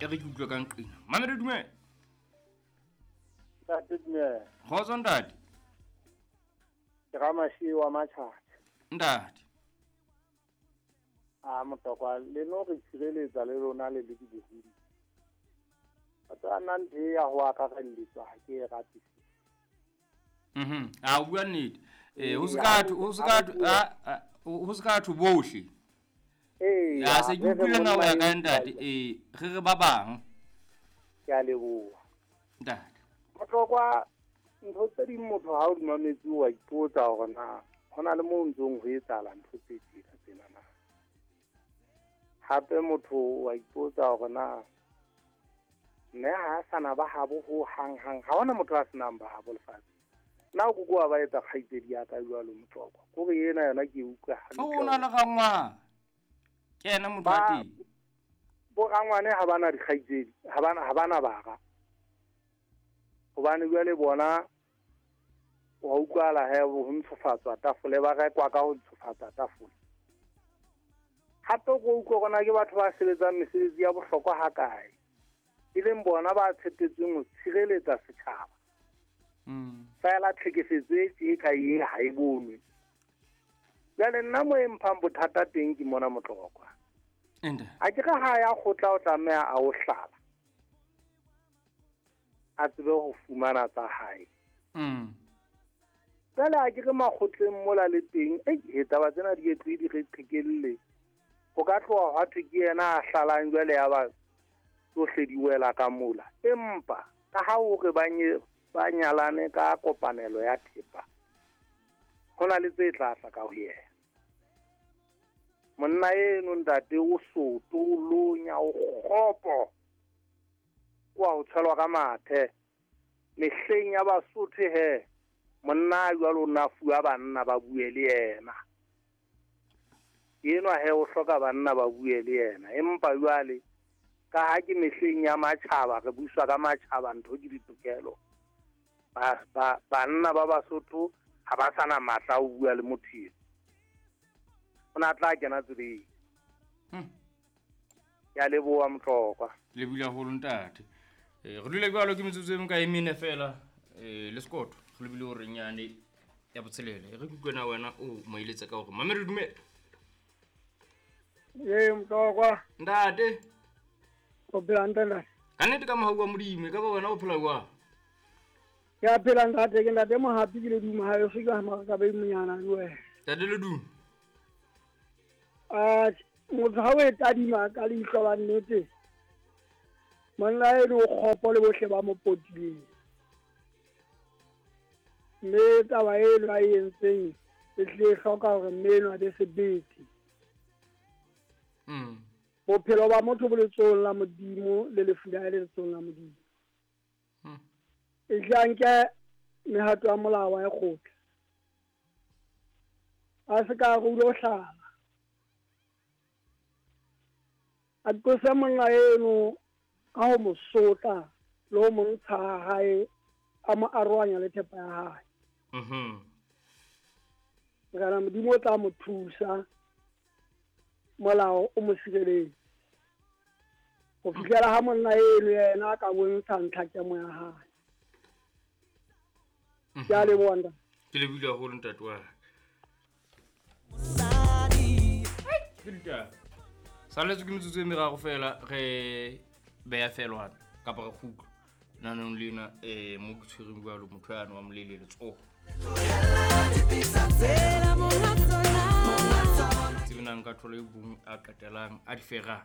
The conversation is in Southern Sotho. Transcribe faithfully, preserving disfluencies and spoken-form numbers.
E re ke utlwe ka nqina. Mamedi dumela. Ntate dumela. Kgotso ntate. Ke Ramashiwa Matjhatjha. Ntate. A Motlokwa le no re tshireletsa le lona le le dibohodi. Batho a nna ntho e ya ho akarelletswa ha ke e rate. Mhm. A bua nnete. Eh ho se ka ho se ka ho se ka thwe bohle. Ee. Ya se ke utlwile na o ya ka ntate eh re re ba bang. Ke a leboha. Ntate. Motlokwa ntho tse ding motho ha o di mametse wa ipotsa hore na hona le mo ntsong ho etsahala ntho tse tjena tsena na. Hape motho wa ipotsa hore na mme ha sana ba habo ho hang hang ha hona motho a senang ba habo lefatshe. Nna o kokoa ba etsa kgaitsedi ya ka jwalo Motlokwa. Kore ena yona ke utlwa hantle. O na le rangwane. Ke yena motho wa teng. Bo rangwane ha bana dikgaitsedi, ha bana ha bana bara. Hobane jwale bona wa utlwala he ho ntshofatswa tafole ba rekwa ka ho ntshofatsa tafole. Hape go utlwa rona ke batho ba sebetsang mesebetsi ya bohlokwa hakae. E leng bona ba tshepetsweng ho tshireletsa setjhaba. Mm. Fela tlhekefetso e tje ka e ha e bonwe. Jwale nna mo e mphang bothata teng ke mona Motlokwa. Ende. A ke re ha ya kgotla o tlameha a o hlala. A tsebe ho fumana tsa hae. Mm. Jwale a ke re makgotleng mola le teng, ei taba tsena di etlwe di re qhekelle. Ho ka tloha hwa thwe ke yena a hlalang jwale ya ba tsohle di wela ka mola. Empa ka ha o re ba nye ba nyalane ka kopanelo ya thepa, ho na le tse tla tla ka ho yena. Monna eno ntate o soto, o lonya, o kgopo, wa ho tshelwa ka mathe. Mehleng ya Basotho he, monna jwalo o na fuwa banna ba bue le yena. Enwa he o hloka banna ba bue le yena. Empa jwale ka ha ke mehleng ya matjhaba, re buswa ka matjhaba, ntho ke ditokelo. Ba, ba, banna ba Basotho ha ba sana matla a ho bua le motho eno. O na tla kena tseleng. Hmm. Ke a leboha Motlokwa. Le bula haholo ntate. Eh re dule jwalo ke metsotso e mekae mene fela eh le Sekoto. Re lebile hore nyane ya botshelela. Re kutlwe na wena o mo eletsa ka hore mamedi dumela. Ee Motlokwa. Ntate. O phela hantle ntate? Ka nnete ka mohau wa Modimo, e ka ba wena o phela jwang? Ke a phela ntate, ke ntate Mohapi ke Leduma ha e fika ha ka be monyana le wena. Ntate Leduma. Ah, motho ha o e tadima ka leihlo la nnete, monna eno o kgopo le bohle ba mo potileng. Mme taba eno a e entseng e tlile e hloka hore mme eno a be sebete. Mm. Bophelo ba motho bo letsohong la Modimo le lefu la hae le letsohong la Modimo. Mm. E tle a nke mehato ya molao wa e kgotla. A se ka re o ilo hlala. A tlose monna eno ka ho mo sotla le ho mo ntsha ha hae, a mo arohanya le thepa ya hae. Mhm. Morena Modimo o tla mo thusa, molao o mo sireletse. Ho fihlela ha monna eno yena a ka bontsha ntlhakemo ya hae. Ke a leboha ntate. Ke lebohile haholo ntate wa ka. Ke ditaba. Saletswe ke metsotso e meraro fela re beya felwana kapa re kgutla nanong lena eh mo ke tshwereng jwalo motho yane wa molele letsoho. Tsebe na nka thola e bong a qetelang a di ferang.